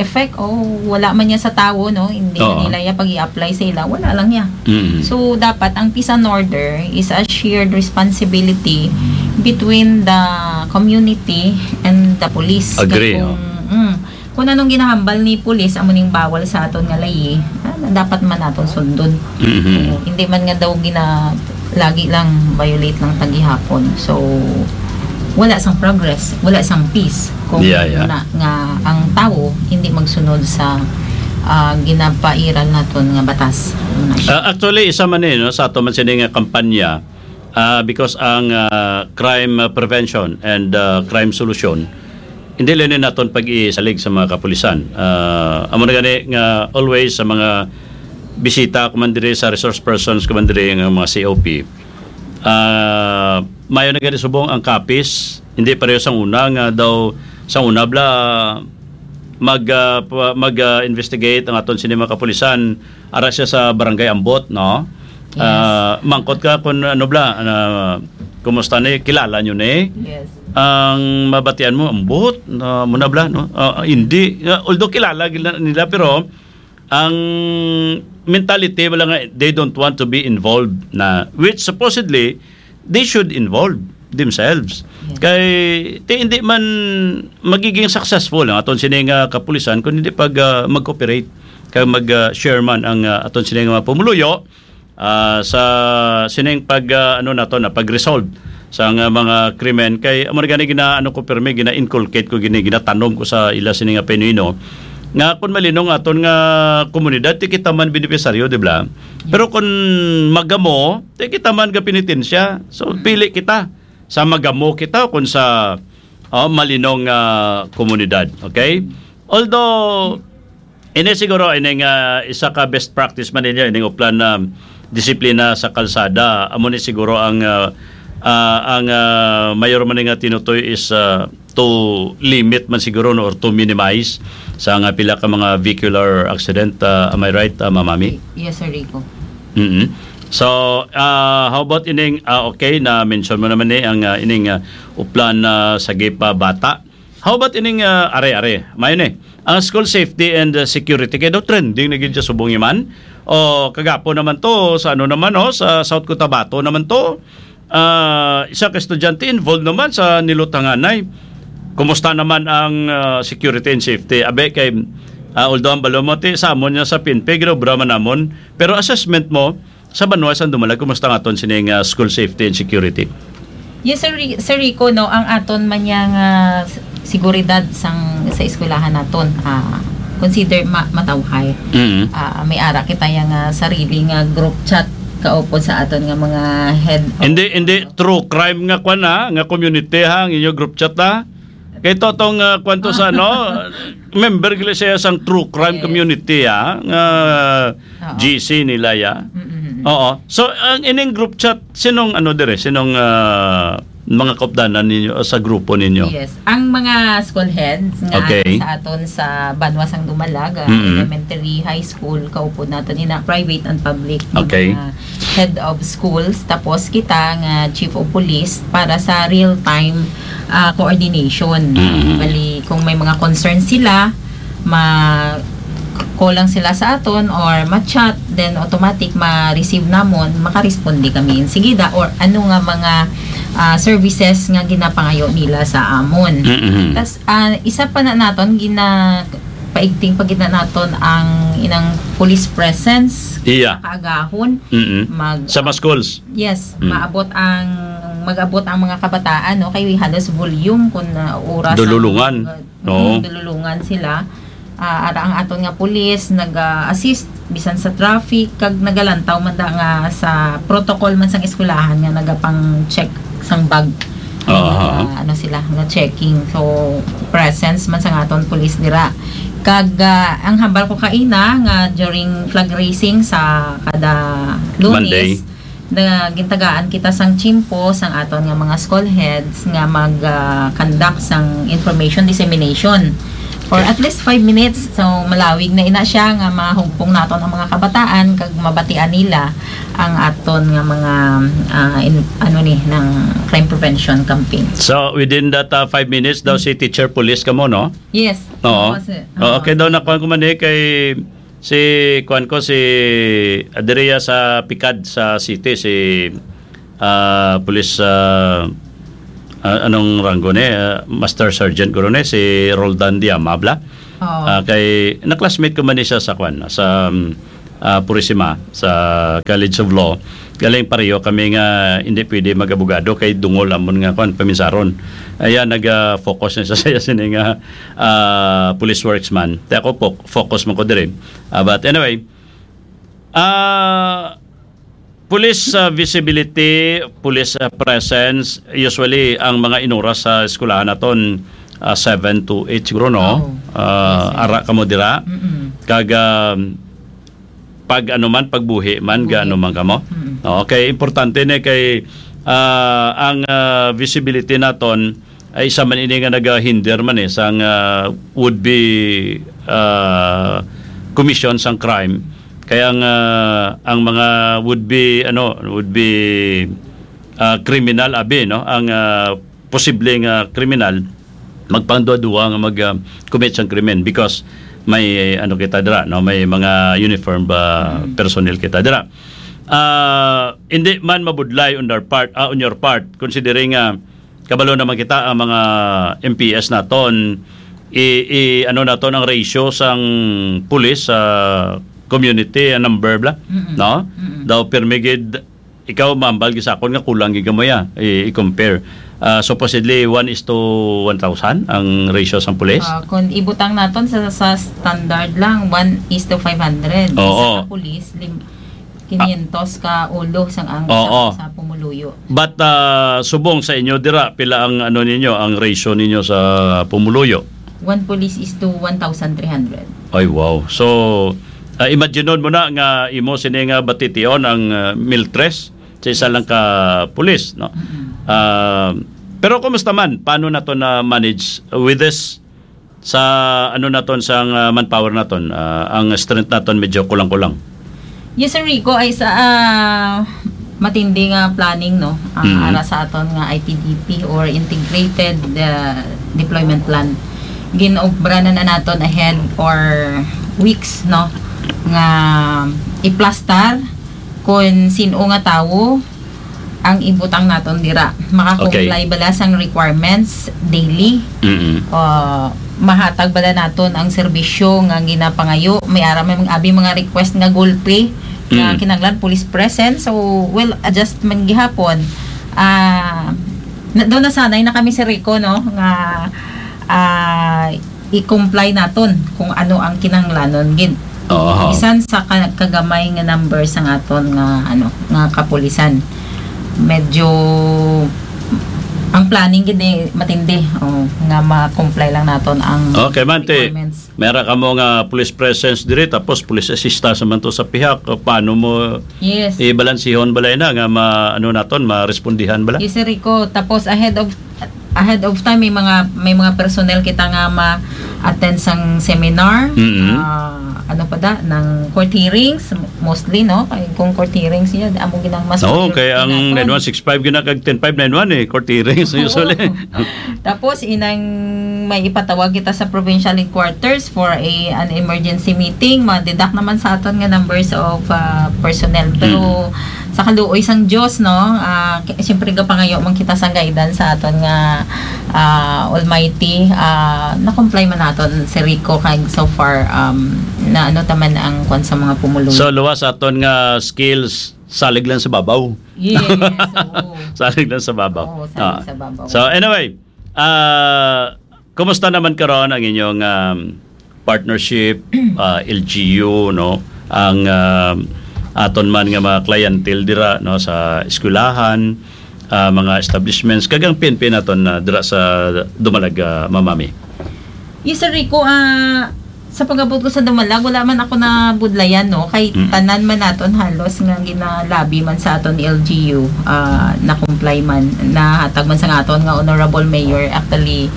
effect o wala man niya sa tawo, no, hindi Oo. nila ya pag i-apply sa ila, wala lang niya. Mm. So, dapat ang peace and order is a shared responsibility between the community and the police. Agree, kung, oh. Mm, kung anong ginahambal ni police, amo ning bawal sa aton nga layi, ah, dapat man naton sundon. Mhm. Oo, hindi man nga daw gina-, lagi lang violate lang ta gihapon. So, wala sang progress, wala sang peace kung Yeah, yeah. na, nga ang tawo hindi magsunod sa, ah, ginapairal naton nga batas. Ano na siya? Ah, actually, isa man eh, no, sa ato man sini nga kampanya, ah, because ang, ah, crime, ah, prevention and, ah, crime solution, hindi lang ni naton pag-isalig sa mga kapulisan. Ah, amo na gani nga always sa mga bisita ko man diri, sa resource persons ko man diri, nga mga C O P, ah, mayo na gani subong ang kapis, hindi pareho sang una nga daw, sang una bala mag, ah, pa-, mag, ah, investigate ang aton sini mga kapulisan, ara siya sa barangay ambot, no? Yes. Ah, mangkot ka kung ano bala, ah, kumusta ni, kilala nyo ni? Yes. Ang mabatian mo, ambot, ah, muna bala, no? Ah, hindi. Ah, although kilala gila-, nila, pero ang mentality wala nga, they don't want to be involved na, which supposedly they should involve themselves. Yes. Kay ti hindi man magiging successful ang aton sini nga kapulisan kung hindi pag, ah, mag-cooperate kay mag, ah, share man ang, ah, aton sini nga mga pumuluyo, ah, sa sining pag, ah, ano nato na pag-resolve sa nga mga krimen. Kay amo na gani gina-, ano ko, pirmi gina-inculcate ko gini, ginatanom ko sa ila sini nga pinuno nga kung malinong aton nga komunidad, ti kita man benepisaryo, di ba? Pero kung magamo, ti kita man ga penitensya. So, pili kita sa magamo kita o kung sa, oh, malinong, ah, komunidad. Okay? Although, ini siguro, ini nga isa ka best practice man ninyo, ining uplan na disiplina sa kalsada. Amo ni siguro ang, ah, ah, ang, ah, mayor man nga tinutoy is, ah, to limit man siguro, no, or to minimize sa nga pila ka mga vehicular accident. Ah, am I right, ah, Ma'am Ami? Yes, Sir Rico. Mm-mm. So, ah, how about ining, ah, okay, na-mention mo naman ni ang, ah, ining, ah, uplan na sa gipa bata. How about ining, ah, are, are? Mayo ni. Ang school safety and, ah, security kay daw trending na gid siya subong iman. O, kagapo naman to, sa ano naman, oh, sa South Cotabato naman to. Ah, isa ka estudyante involved naman sa nilutanganay. Kumusta naman ang, ah, security and safety? Abe, kay, ah, although ang balomoti sa amon niya sa P N P, ginobra man namon. Pero assessment mo, sa banwa sang Dumalag, kumusta ang aton sining, ah, school safety and security? Yes, Sir Ri-, Sir Rico, no, ang aton man niya nga s-, seguridad sang, sa eskwelahan naton, ah, consider ma-, matawhay. Mm. Ah, may ara kita yang, ah, sarili nga group chat kaupod sa aton nga mga head of Hindi, hindi true crime nga kwan, ha, nga community, ha, ang inyo group chat, ha? Kay totong, ah, kwan to sa, ano, member gila siya sang true crime Yes. community, ha, nga Oo. G C nila, ya. Mm-mm. Oo. So, ang ining group chat, sinong, ano, dire? Sinong, ah, mga kaupdanan ninyo, ah, sa grupo ninyo? Yes. Ang mga school heads nga Okay. sa aton sa banwa sang Dumalag, ah, Mm-mm. elementary, high school, kaupod naton ina, private and public, Okay. mga head of schools, tapos kita nga chief of police para sa real-time, ah, coordination. Mm-hmm. Bali, kung may mga concerns sila, ma-call lang sila sa aton or ma-chat, then automatic ma-receive namon, makaresponde kami insigida or ano nga mga, ah, services nga ginapangayo nila sa amon. Mm-hmm. Tas, ah, isa pa na naton gina-, paigting pa gid na naton ang inang police presence Iya. kaagahon. Mm-mm. Mag- Sa mga schools? Yes, Mm. maabot ang, mag-abot ang mga kabataan, no, kay halos volume kun, ah, oras ang Dululungan. mga, Oo. mm, dululungan sila. Ah, ara ang aton nga pulis nag-assist bisan sa traffic kag nagalantaw man da nga sa protocol man sang eskwelahan nga nagapang-check sang bag. Aha. Nga, ano sila, nga checking. So, presence man sang aton pulis dira. Kag, ah, ang hambal ko kaina nga during flag raising sa kada Lunes, Monday. Na gintagaan kita sang chimpo sang aton nga mga school heads nga mag, ah, conduct sang information dissemination for Yes. at least five minutes. So, malawig na ina siya nga mahugpong naton ang mga kabataan kag mabatian nila ang aton nga mga, ah, in-, ano ni, ng crime prevention campaign. So, within that, ah, five minutes daw si teacher police kamo, no? Yes. Oo. Oo, kay daw nakuha ko man eh, kay si, kuwan ko, si Adria sa Picad sa city, si, ah, Police, ah, ah, anong ranggo ni? Ah, Master Sergeant guro ni, si Roldan Diamabla. Oo. Ah, kay, na-classmate ko man ni siya sa kwan, sa, um, ah, Purisima, sa College of Law. Galing pareho kami nga hindi pwede mag-abogado kay dungol amon nga kwan, paminsaron. Ayan, nag-focus na siya sa sini nga, ah, police works man. Kaya ako po, focus man ko diri. Ah, but anyway, ah, police, ah, visibility, police, ah, presence, usually, ang mga inuras sa eskwelahan naton, ah, seven to eight siguro, no? Oo. Ah, Yes, sir. Ara kamo dira. Mm-mm. Kag, ah, pag ano man, pagbuhi man, Buhi. Gaano man kamo. Mm. Okay, importante ni kay, ah, ang, ah, visibility naton ay isa man ini nga nagahinder man eh sang, ah, would be, ah, commission sang crime. Kaya ang, ah, ang mga would be, ano, would be, ah, criminal abi, no? Ang, ah, posibleng, ah, kriminal magpangduwa-duwa nga mag, ah, commit sang krimen because may, ano, kita dira, no? May mga uniform ba Mm. personnel kita dira. Ah, hindi man mabudlay on their part, ah, on your part, considering nga kabalo naman kita ang mga M P S naton, i, i, ano naton ang ratio sang pulis sa community, ang number bla, Mm-mm. no? Mm-mm. Daw pirmi gid ikaw, mambal gid sa akon nga kulang gid gamay, ah, i, i-compare. Ah, supposedly, one is to one thousand ang ratio sang pulis. Ah, kung ibutang naton sa, sa standard lang, one is to five hundred. Oo. Isa ka pulis, lim-, quinientos ka ulo sang ang Oo. sa, sa pumuluyo. But, ah, subong sa inyo dira, pila ang ano ninyo, ang ratio ninyo sa pumuluyo? One police is to one thousand three hundred. Ay, wow. So, ah, imaginon mo na nga imo sini nga batition ang, ah, mil tres sa isa lang ka pulis, no? Mm-mm. Ah, pero kumusta man? Paano nato na manage with this sa ano naton, sa, ah, manpower naton? Ah, ang strength naton medyo kulang-kulang. Yes, Sir Rico, ay sa, ah, matindi nga planning, no? Ang Mm. ara sa aton nga I T D P or Integrated, ah, Deployment Plan. Gin-obra na, na naton ahead or weeks, no? Nga iplastar kung sin-o nga tawo ang ibutang naton dira. Maka-comply Okay. bala sang requirements daily? Mm-mm. O mahatag bala naton ang serbisyo nga ginapangayo? May ara may mga, abi mga request nga gulpi nga Mm. kinahanglan police presence. So, well, adjustment gihapon. Ah, na, daw nasanay na kami, Sir Rico, no, nga, ah, i-comply naton kung ano ang kinahanglanon gid. Oo. Bisan sa ka-, kagamay nga number sa aton nga, ano, nga kapulisan. Medyo ang planning gid ni matindi, oh, nga ma-comply lang naton ang Okay, Mante. requirements. Mera kamo nga police presence diri, tapos police assistance naman to sa pihak. Paano mo Yes. ibalansihon balay na nga ma-, ano naton, marespondihan bala? Yes, Sir Rico. Tapos ahead of, ahead of time, may mga, may mga personnel kita nga ma-attend sang seminar. Mm-hmm. Ah, ano pa da? Ng court hearings, mostly, no? Kay kung court hearings yun, amo ginang mas Oo, priority kay ang naton. nine one six five gina kag ten five nine one eh, court hearings Oo. usually. Tapos, inang may ipatawag kita sa provincial headquarters for a, an emergency meeting, ma-deduct naman sa aton nga numbers of, ah, personnel. Pero Mm. sa kaluoy sang Dios, no, ah, k-, siyempre gapangayo man kita sa guidance sa aton nga, ah, Almighty, ah, na-comply man naton si Rico kag so far, um, na ano taman ang kwan sa mga pumuluyo. So, luwas aton nga skills, salig lang sa babaw. Yes, oo. Salig lang sa babaw. Oo, salig Ah. sa babaw. So, anyway, ah, kumusta naman karon ang inyong, um, partnership, ah, L G U, no? Ang, um, aton man nga mga clientele dira, no, sa eskwelahan, ah, mga establishments, kag ang P N P naton na dira sa Dumalag, ah, Ma'am Mami. Yes, Sir Rico, ah, sa pag-abot ko sa Dumalag, wala man ako nabudlayan, no? Kay Mm. tanan man naton halos nga ginalabi man sa aton L G U, ah, na-comply man, nahatag man sa aton nga Honorable Mayor. Actually,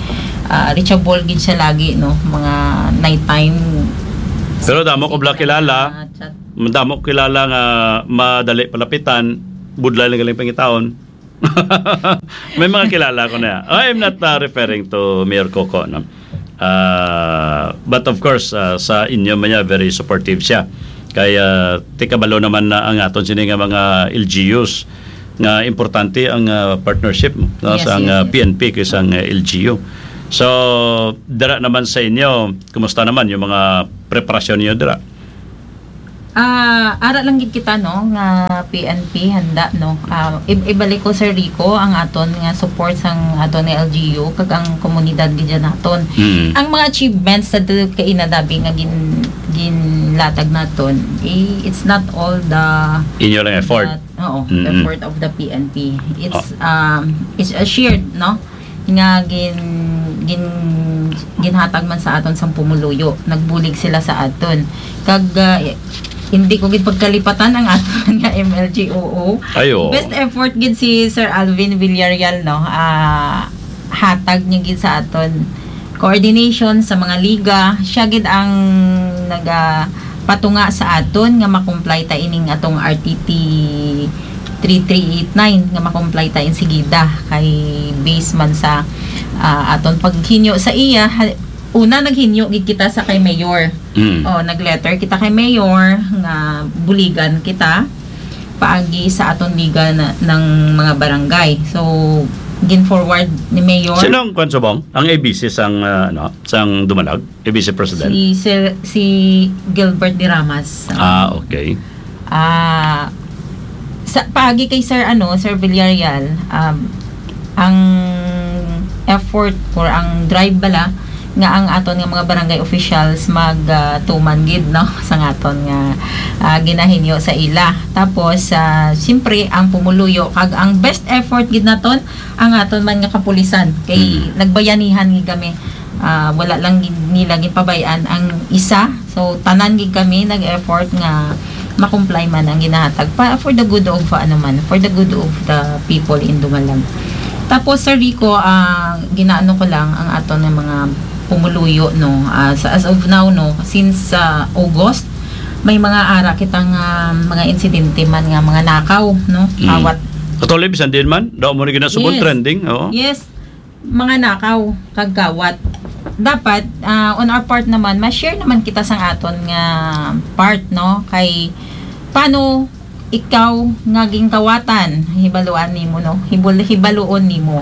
ah, reachable gid siya lagi, no? Mga nighttime. Pero damo ko bala kilala. Ah, chat. Madamo ko kilala nga madali palapitan, budlay lang galing pangitaon. May mga kilala ko na. I'm not, uh, referring to Mayor Coco, no? Uh, but of course, uh, sa inyo man niya, very supportive siya. Kaya, ti kabalo naman na ang aton sini nga mga L G Us. nga importante ang, ah, partnership, no, Yes, sang, yes, ah, yes. P N P kay sang, ah, L G U. So, dira naman sa inyo, kumusta naman yung mga preparasyon niyo dira? Ah, ara lang gid kita, no, nga P N P handa, no. Ah, i-, ibalik ko, Sir Rico, ang aton nga support sang aton nga L G U kag ang komunidad gid naton. Mm. Ang mga achievements sa tu-, kay inadabi nga gin-, ginlatag naton, eh, it's not all the Inyo lang effort. the, oo, Mm-mm. effort of the P N P. It's, Oh. um, it's a shared, no? Nga gin-, gin-, ginhatag man sa aton sang pumuluyo. Nagbulig sila sa aton. Kag, ah, hindi ko gid pagkalipatan ang aton nga M L G O O. Ay, oo. Best effort gid si Sir Alvin Villarreal, no? Ah, hatag niya gid sa aton coordination sa mga liga. Siya gid ang naga-, patunga sa aton nga makomply ta ining atong R T T three three eight nine nga makomply ta insigida kay base man sa, ah, aton paghinyo sa iya. Ha-, una, naghinyo gid kita sa kay Mayor. Mm. Oh, nag-letter kita kay Mayor nga buligan kita paagi sa aton liga na, ng mga barangay. So, gin-forward ni Mayor. Sino ang kwan subong? Ang A B C sang, ah, ano, sang Dumalag? A B C President? Si Sir, si Gilbert de Ramas. Ah, okay. Ah, sa paagi kay Sir, ano, Sir Villarreal, um, ang effort or ang drive bala nga ang aton nga mga barangay officials mag, ah, tuman gid, no, sa aton nga, ah, ginahinyo sa ila. Tapos, ah, siyempre, ang pumuluyo kag ang best effort gid naton ang aton man nga kapulisan kay Mm. nagbayanihan gid kami. Ah, wala lang gid nila ginpabay-an ang isa. So, tanan gid kami nag-effort nga ma-comply man ang ginahatag pa for the good of, ano man, for the good of the people in Dumalag. Tapos, Sir Rico, ah, ginaano ko lang ang aton nga mga pumuluyo, no, ah, sa, as of now, no, since, ah, August, may mga ara kita nga mga insidente man nga mga nakaw, no, Mm. kawat. Actually, bisan din man, daw mo na ginasubon Yes. trending, oo. Yes, mga nakaw kag kawat. Dapat, ah, on our part naman, ma-share naman kita sang aton nga part, no? Kay, paano ikaw nga ginkawatan, hibaluan nimo, no? Hibul-, hibaluon nimo.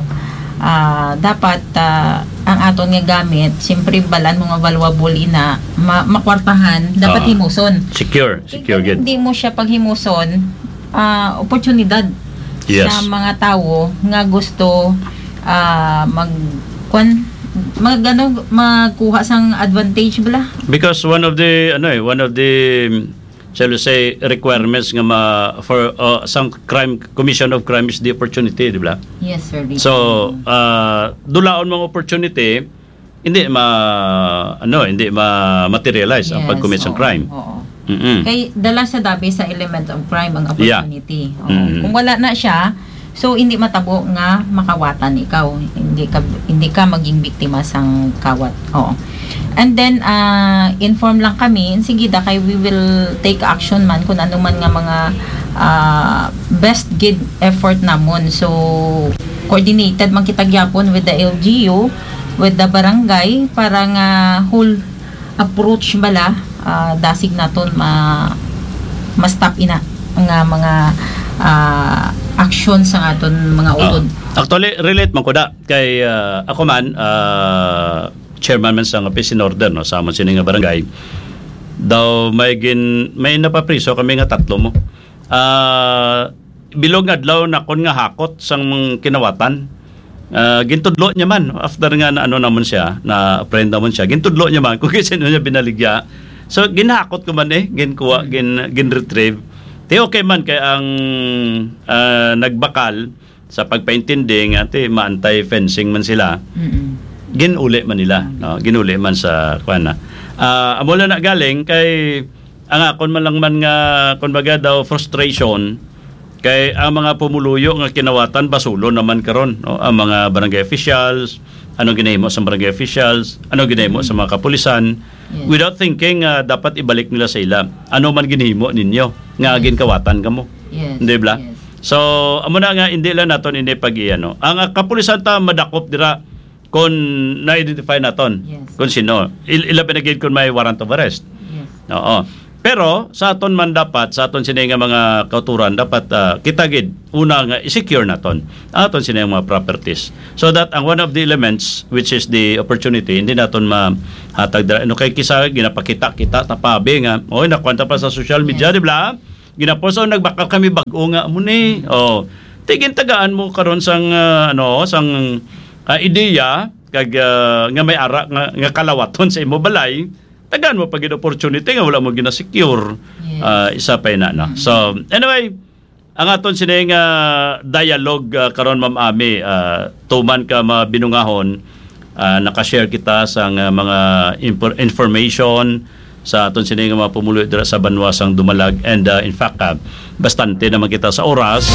Ah, dapat, ah, ang aton nga gamit, siyempre, balan mo nga valuable ina, ma-, makwartahan, dapat Ah. himuson. Secure, Kay secure kung gid. hindi mo siya paghimuson, ah, oportunidad Yes. sa mga tawo nga gusto, ah, mag-, kwan, mag-, ano, magkuha sang advantage bala. Because one of the, ano eh, one of the, shall we say, requirements nga ma-, for, uh, some crime, commission of crime is the opportunity, di ba? Yes, sir. So, uh, dulaon mo ang opportunity, hindi ma-, ano, hindi ma-materialize ang Yes, pag-commit sang oo, crime. oo. Mm-mm. Kay dala sa dabi sa element of crime ang Yeah. opportunity. Oo. Mm-mm. Kung wala na siya, so hindi matabo nga makawatan ikaw. Hindi ka, hindi ka maging biktima sang kawat. Oo. And then, ah, inform lang kami, sige da, kay we will take action man kung ano man nga mga, ah, best gid effort namon. So, coordinated man kita gyapon with the L G U, with the barangay, para nga whole approach bala, ah, dasig naton ma-, ma-stop ina nga mga, ah, action sa aton mga Ah, utod. Actually, relate man ko da. Kay, ah, ako man, ah, chairman man sa nga peace and order, no, sa amon sini nga barangay. Daw may gin-, may napapriso kami nga tatlo mo. Ah, bilog nga adlaw nakon nga hakot sang mga kinawatan. Ah, gintudlo niya man, after nga na ano namon siya, na friend namon siya, gintudlo niya man kung sino niya binaligya. So, ginhakot ko man eh, ginkuha, Mm. gin-, gin-retrieve. Ti okay man kay ang, ah, nagbakal sa pagpaintindi nga ti ma-anti-fencing man sila, Mm-mm. ginuli man nila, Mm. no? Ginuli man sa, kwan na. Ah, amo lang na galing kay ang akon man lang man nga, kumbaga daw, frustration, kay ang mga pumuluyo nga kinawatan, basulon naman karon, no? Ang mga barangay officials, ano ginahimo sa barangay officials, ano ginahimo sa mga kapulisan, Yes. without thinking, ah, dapat ibalik nila sa ila. Ano man ginhimo ninyo nga Yes. ginkawatan kamo? Yes, Di ba? yes. So, amo na nga, hindi lang naton ini pag-iano. Ang, ah, kapulisan ta madakop dira kung na-identify naton Yes. kung sino. Il-, ila pinagid kung may warrant of arrest. Yes. Oo. Pero sa aton man dapat, sa aton sini nga mga kauturan, dapat, ah, kita gid una nga i-secure naton ang aton sini nga mga properties. So that ang one of the elements, which is the opportunity, hindi naton mahatag dira. Ano kay kisa ginapakita kita tapabi nga, "Oy, nakuha ta pa sa social media, Yes. di ba? Ginapost, oh, nagbakal kami bag-o nga amo ni." Oh, tigin tagaan mo karon sang, ah, ano, sang, ah, ideya kag, ah, nga may ara nga, nga kalawaton sa imo balay, tagaan mo pa gid opportunity nga wala mo gina-secure. Yes. Ah, isa pa ina, no? Mm. So, anyway, ang aton sini nga dialogue, ah, karon, Ma'am Ami, ah, tuman ka mabinungahon, ah, naka-share kita sa nga mga impor-, information sa aton sini nga mga pumuluyo dira sa banwa sang Dumalag. And, ah, in fact, ah, bastante naman kita sa oras.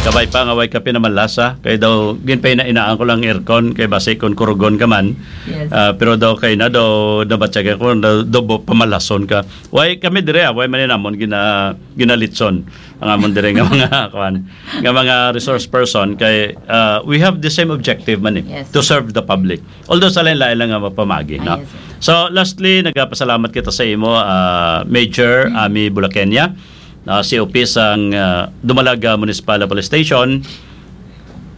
Kabay pa nga way kape naman lasa. Kay daw, ginpaina-inaan ko lang aircon, kay basi kon kurugon ka man. Yes. Ah, pero daw kay na daw, nabatyagan ko, daw, daw bo-, pamalason ka. Way kami dire, ah, way man namon gina-, ginalitson ang amon dire nga mga, kuwan, nga mga resource person kay, ah, we have the same objective man eh, Yes. to serve the public. Although sa lain-lain lang nga mapamagi, Ah, no? yes, sir. So, lastly, nagapasalamat kita sa imo, ah, Major Mm. Ami Bulakenya, ah, C O P sang, ah, Dumalaga Municipal Police Station.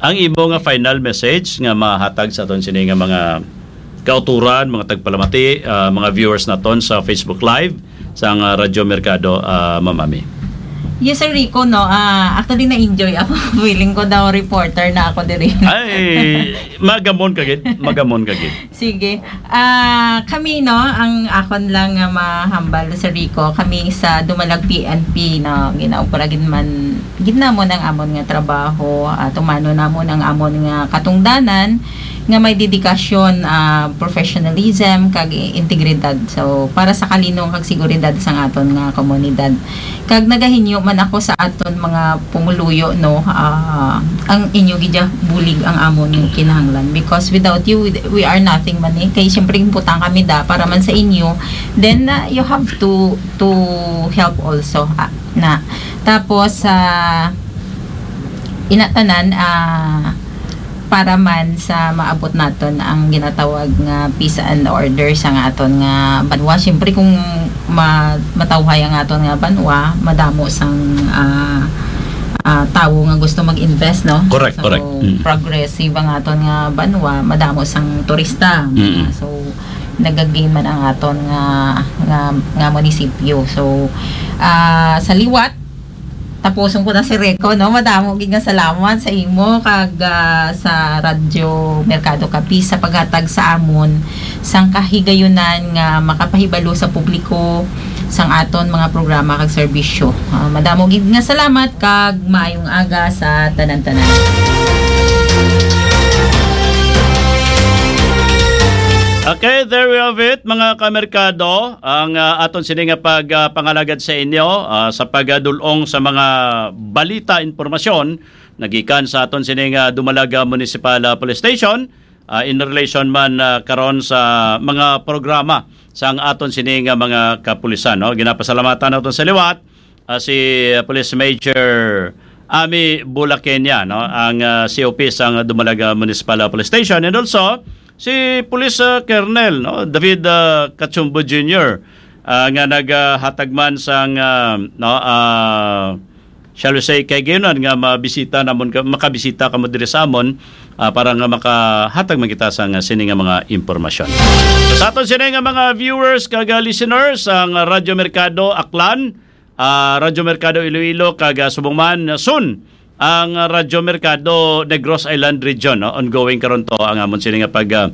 Ang imo nga final message nga mahatag sa aton sini nga mga kauturan, mga tagpalamati, ah, mga viewers naton sa Facebook Live, sang, ah, Radyo Merkado, ah, Ma'am Ami? Yes, Sir Rico, no? Ah, actually, na-enjoy ako. Feeling ko daw reporter na ako diri. Ay, magamon ka gid, magamon ka gid. Sige. Ah, kami, no, ang akon lang nga mahambal, Sir Rico, kami sa Dumalag P N P, no, ginaupra gid man, gid namon ang amon nga trabaho, ah, tumano namon ang amon nga katungdanan nga may dedikasyon, ah, professionalism, kag integridad. So, para sa kalinong kag seguridad sang aton nga komunidad. Kag nagahinyo man ako sa aton mga pumuluyo, no, ah, ang inyo gid bulig ang amon kinahanglan, because without you, we, we are nothing man eh. Kay siyempre, butang kami da para man sa inyo. Then, ah, you have to, to help also, ah, na. Tapos, ah, ina tanan, ah, para man sa maabot naton ang ginatawag nga peace and order sa nga aton nga banwa. Siyempre, kung ma-, matawhay ang aton nga banwa, madamo sang, ah, ah, tawo nga gusto mag-invest, no? Correct, So, correct. Mm. progressive ang aton nga banwa, madamo sang turista. Mm. So, nagagain man ang aton nga, nga, nga munisipyo. So, ah, sa liwat, tapuson ko na, Sir Rico, no? Madamo gid nga salamat sa imo kag, ah, sa Radyo Merkado Capiz sa paghatag sa amon sang kahigayunan nga makapahibalo sa publiko sang aton mga programa kag serbisyo. Ah, madamo gid nga salamat kag maayong aga sa tanan-tanan. Okay, there we have it, mga kamerkado. Ang, ah, aton sini nga pag, ah, pangalagad sa inyo, ah, sa pagdul-ong sa mga balita, impormasyon nagikan sa aton sini nga Dumalaga Municipal, ah, Police Station, ah, in relation man, ah, karon sa mga programa sang aton sini nga mga kapulisan, no? Ginapasalamatan naton sa liwat, ah, si, ah, Police Major Ami Bulakenya, no, ang, ah, C O P sang Dumalaga Municipal, ah, Police Station, and also si Police, ah, Colonel, no, David, ah, Cachumbo Junior, ah, nga naghatag man sang, ah, no, ah, shall we say, kahigayunan nga mabisita namon ka, makabisita kamo diri sa amon, ah, para nga makahatag man kita sang sini nga mga impormasyon. Sa aton sini nga mga viewers kag, ah, listeners, ang Radyo Merkado Aklan, ah, Radyo Merkado Iloilo, kag, ah, subong man, ah, soon, ang Radyo Merkado Negros Island Region, no? Ongoing karon to ang amon sini nga pag, ah,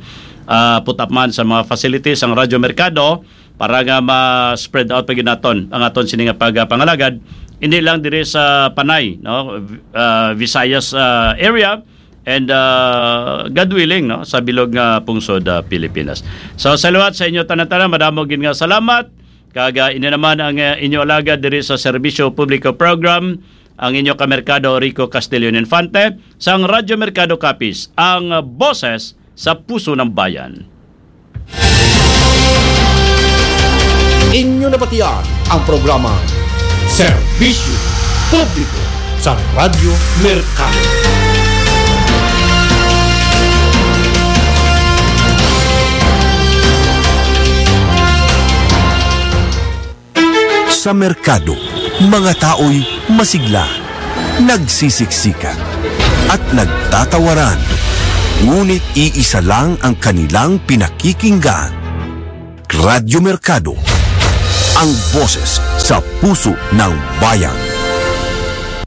ah, put up man sa mga facilities ang Radyo Merkado para nga ma-spread out pa gid naton ang aton sini nga pag, ah, pangalagad, hindi lang diri sa Panay, no? V-, ah, Visayas, ah, area, and, ah, God willing, no, sa bilog nga pungsod, ah, Pilipinas. So, sa liwat sa inyo tanan-tanan, madamo gid nga salamat. Kag, ah, ini naman ang, ah, inyo alagad diri sa Serbisyo Publiko Program, ang inyo kamerkado Rico Castillon Infante, sang Radyo Merkado Capiz, ang, ah, boses sa puso ng bayan. Inyo nabatian ang programa Serbisyo Publiko sa Radyo Merkado. Sa merkado, mga tao'y masigla, nagsisiksikan, at nagtatawaran. Ngunit iisa lang ang kanilang pinakikinggan. Radyo Merkado, ang boses sa puso ng bayan.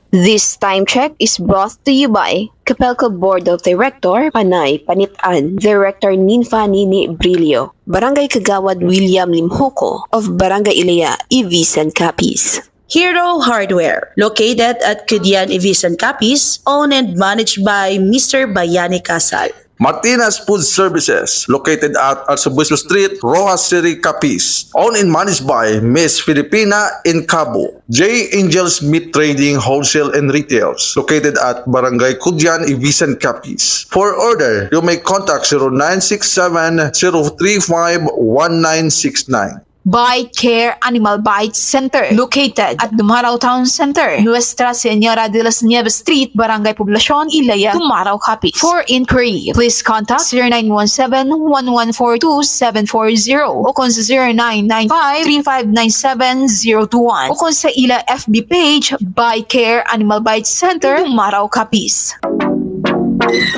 This time check is brought to you by Capelco Board of Director, Panay Panitan, Director Ninfa Nini Brillo, Barangay Kagawad William Limhuko of Barangay Ilaya, Ivisan, Capiz. Hero Hardware, located at Kudian, Ivisan, Capiz, owned and managed by Mister Bayani Casal. Martinez Food Services, located at Arsobispo Street, Roxas City, Capiz. Owned and managed by Miss Filipina in Cabo. J Angels Meat Trading Wholesale and Retails, located at Barangay Kudian, Ivisan, Capiz. For order, you may contact zero nine six seven, zero three five, one nine six nine. Bite Care Animal Bite Center, located at Dumaraw Town Center, Nuestra Señora de las Nieves Street, Barangay Poblacion, Ilaya, Dumaraw, Capiz. For inquiry, please contact zero nine one seven, one one four two, seven four zero o kon sa zero nine nine five, three five nine seven, zero two one o kon sa ila F B page, Bite Care Animal Bite Center, Dumaraw, Capiz.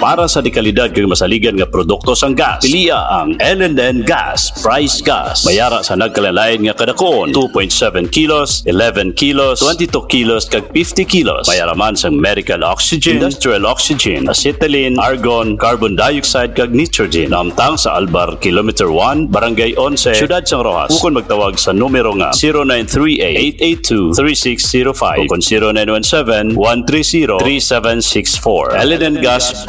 Para sa dekalidad kag masaligan nga produkto sang gas, pilia ang L and N Gas Price Gas. Mayara sa nagkalain-lain nga kadakon, two point seven kilos, eleven kilos, twenty-two kilos, kag fifty kilos. Mayara man sang medical oxygen, industrial oxygen, acetylene, argon, carbon dioxide, kag nitrogen. Naamtang sa Albar, Kilometer one, Barangay Onse, Siyudad sang Roxas. Ukon magtawag sa numero nga zero nine three eight, eight eight two, three six zero five o kon zero nine one seven, one three zero, three seven six four. L and N Gas